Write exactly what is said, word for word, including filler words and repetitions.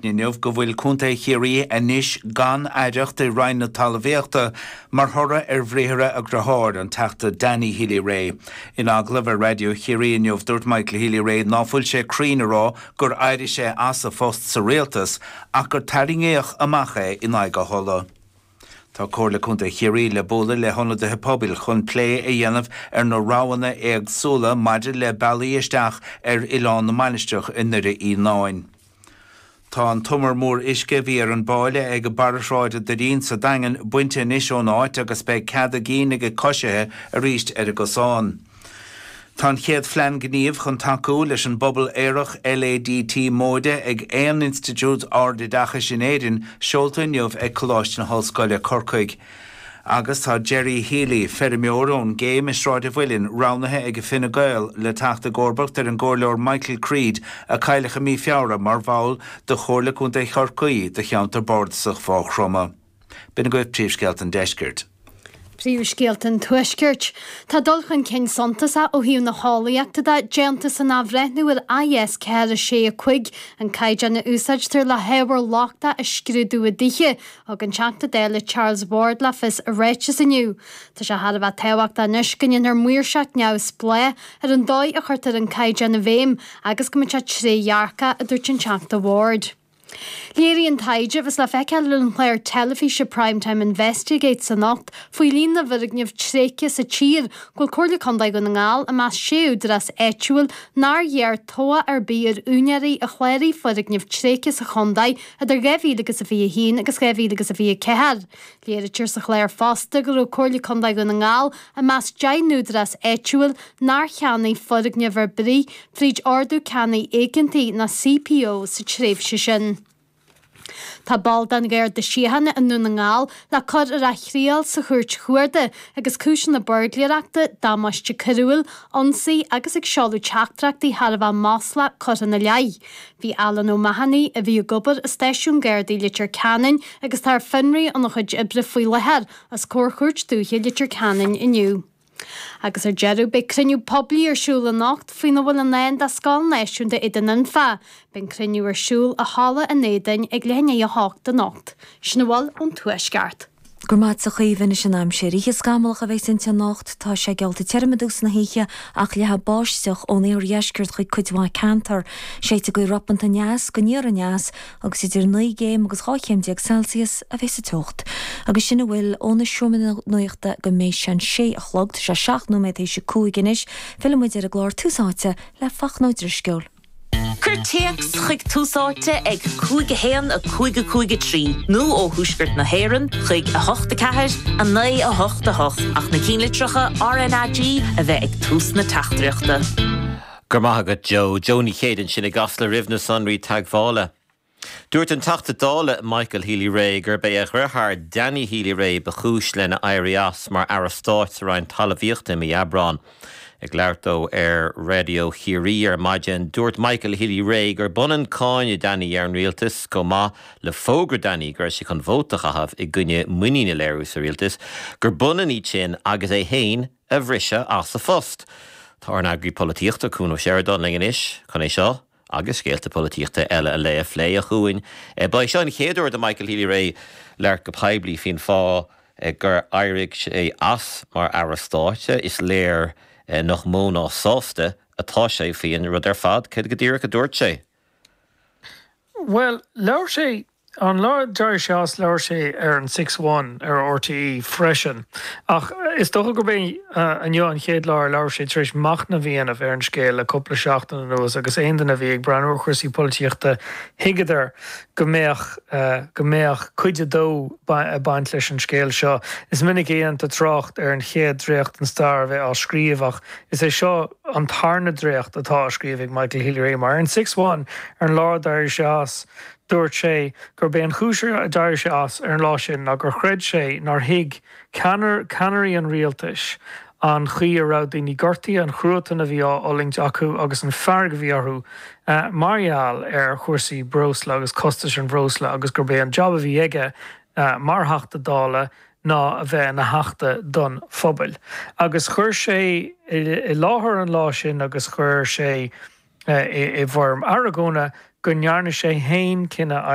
Inniu go bhfuil Contae Chiarraí anois gan aireacht i Roinn na Talmhaíochta mar thoradh ar bhriathra a dhearthár, an Teachta Danny Healy-Rae. In agallamh ar Raidió Chiarraí inniu dúirt Michael Healy-Rae ná fuil sé cruinn a rá gur éirigh sé as a phost sa rialtas ach gur tarraingíodh amach é in aghaidh a thola. Tá Comhairle Contae Chiarraí le bualadh le hionadaithe pobail chun plé a dhéanamh ar na roghanna éagsúla maidir le bealaí isteach ar Oileán na Mainistreach i nDoire Fhíonáin. Tá an t-umar mór uisce a bhí ar an bpáile ag barra Shráid an Doirín sa Daingean bainte anois ón áit agus beidh cead a gcinn ag coisithe arís ar an gcosán. Tá an chéad phlean gnímh chun tacú leis an bpobal aerach LADT móide ag aon institiúid ardoideachais in Éirinn seolta inniu ag Coláiste na hOllscoile Corcaigh. Agus tá Jerry Healy, feirmeoir ón gCéim i Sráid an Mhuilinn, roghnaithe ag Fine Gael le teacht i gcomharbacht ar an gcomhairleoir Michael Creed a cailleadh i mí Feabhra mar bhall de Chomhairle Contae Chorcaí do cheantar bardasach Mhaigh Chromtha. B'in agaibh príomhscéalta an deiscirt. Príomhscéalta an Tuaiscirt. Tá dul chun cinn suntasach ó thaobh na heolaíochta de déanta san athbhreithniú ar IS ceathair sé a cúig an caighdeán a úsáidtear le hábhar lochtach a scrúdú i dtithe, thug an Teachta Dála Charles Ward le fios i ráiteas inniu. Tá sé thar a bheith tábhachtach anois go ndéanfar maoirseacht neamhspleách ar an dóigh a chuirtear an caighdeán i bhfeidhm agus go mbeidh sé trédhearcach, a dúirt an Teachta Ward. Léiríonn taighde a bheas le feiceáil ar an chlár teilifíse Primetime Investigates anocht faoi líon na bhfoirgneamh tréigthe sa tír go bhfuil Comhairle Contae Dhún na nGall i measc sé údarás áitiúil nár ghearr tobhach ar bith ar úinéirí a chláraigh foirgnimh tréigthe sa chontae idir dhá mhíle agus a fiche a haon agus dhá mhíle agus a fiche a ceathair. Léirítear sa chlár fosta go raibh Comhairle Contae Dhún na nGall i measc deich n-údarás áitiúil nár cheannaigh foirgneamh ar bith fríd Ordú Ceannaigh Éigeantaigh ná CPO sa tréimhse sin. Tá ball den Gharda Síochána i nDún na nGall le cur ar a thriail sa Chúirt Chuarda agus cúiseanna buirgléireachta, damáiste coiriúil, ionsaí agus ag seoladh teachtaireachtaí thar a bheith maslach curtha ina leith. Bhí Alan O'Mahony, a bhí ag obair i stáisiún Gardaí Leitir Ceanainn agus atá ar fionraí óna chuid oibre faoi láthair, os comhair Chúirt Dúiche Leitir Ceanainn inniu. Agus ar deireadh, beidh cruinniú poiblí ar siúl anocht faoina bhfuil i ndán do Scoil Náisiúnta Éadan Anfa. Beidh an cruinniú ar siúl i Halla an Éadain ag leath i ndiaidh a hocht anocht. Sin a bhfuil ón Tuaisceart. Go raibh maith agat a Chaoimhe anois an aimsir. Oíche scamallach a bheas inti anocht. Tá sé geallta tirim i dtús na hoíche ach leathfaidh báisteach ón iardheisceart chuig cuid mhaith ceantar. Séidfidh gaoth ropanta aneas go aniar aneas agus idir naoi gcéim agus dhá chéim déag Celsius a bheas an teocht. Agus sin a bhfuil ó na seomraí nuachta go mbeidh sé an sé a chlog, tá sé seacht nóiméad théis a cúig anois, fillfidh muid ar an gclár Tús Áite le Fachtna Ó Drisceoil. Cuir téacs chuig Tús Áite ag cúig a haon a cúig a cúig a trí nó ó Thuaisceart na hÉireann chuig a hocht a ceathair a naoi a hocht a hocht ach na cinnlitreacha RnaG a bheith ag tús na teachtaireachta. Go raibh maith agat Joe, Joe Ní Chéide ansin i gCasla roimh na sonraí teagmhála. Dúirt an Teachta Dála Michael Healy-Rae gurb é a dheartháir Danny Healy-Rae ba chúis lena éirí as mar Aire Stáit sa Roinn Talmhaíochta i mí Aibreáin. Ag labhairt dó ar Raidió Chiarraí ar maidin, dúirt Michael Healy-Rae gur b'ionann cáineadh Danny ar an rialtas chomh maith le fógra Danny go raibh sé chun vóta a chaitheamh i gcoinne muinín a léiriú sa rialtas, gur b'ionann iad sin agus é féin a bhriseadh as a phost. Tá ár n-eagraí polaitíochta Cuan Ó Seireadáin linn anois chun é seo agus scéalta polaitíochta eile a lé a phlé a Chuain. Ba é seo an chéad uair do Michael Healy-Rae labhairt go poiblí faoin fáth gur éirigh sé as mar Aire Stáit. Is léir nach mó ná sásta atá sé faoin rud ar fad. Céard go díreach a dúirt sé? Bhuel, labhair sé An lá a d'éirigh sé as, labhair sé ar an Six One ar RTÉ freisin. Ach is dócha gurb é inniu an chéad lá ar labhair sé tar éis machnamh a dhéanamh ar an scéal le cúpla seachtain anuas agus aon duine a bhí ag breathnú ar chúrsaí polaitíochta thuigeadar go mbeadh go mbeadh cuid a dó ag baint leis an scéal seo. Is minic a dhéantar trácht ar an chéad dréacht den stair a bheith á scríobh ach is é seo an tarna dréacht atá á scríobh ag Michael Healy-Rae mar ar an Six One ar an lá a d'éirigh sé as Dúirt sé gurb é an chúis a d'éirigh sé as ar an lá sin ná gur chreid sé nár thuig ceannairí an rialtais an chaoi a raibh daoine gortaithe, an cruatan a bhí á fhulaingt acu agus an fearg a bhí orthu mar gheall ar chúrsaí breosla agus costais an bhreosla agus gurb é an jab a bhí aige mar Theachta Dála ná a bheith ina theachta don phobal. Agus chuir sé i láthair an lá sin agus chuir sé i bhfoirm argóna go ndearna sé féin cinneadh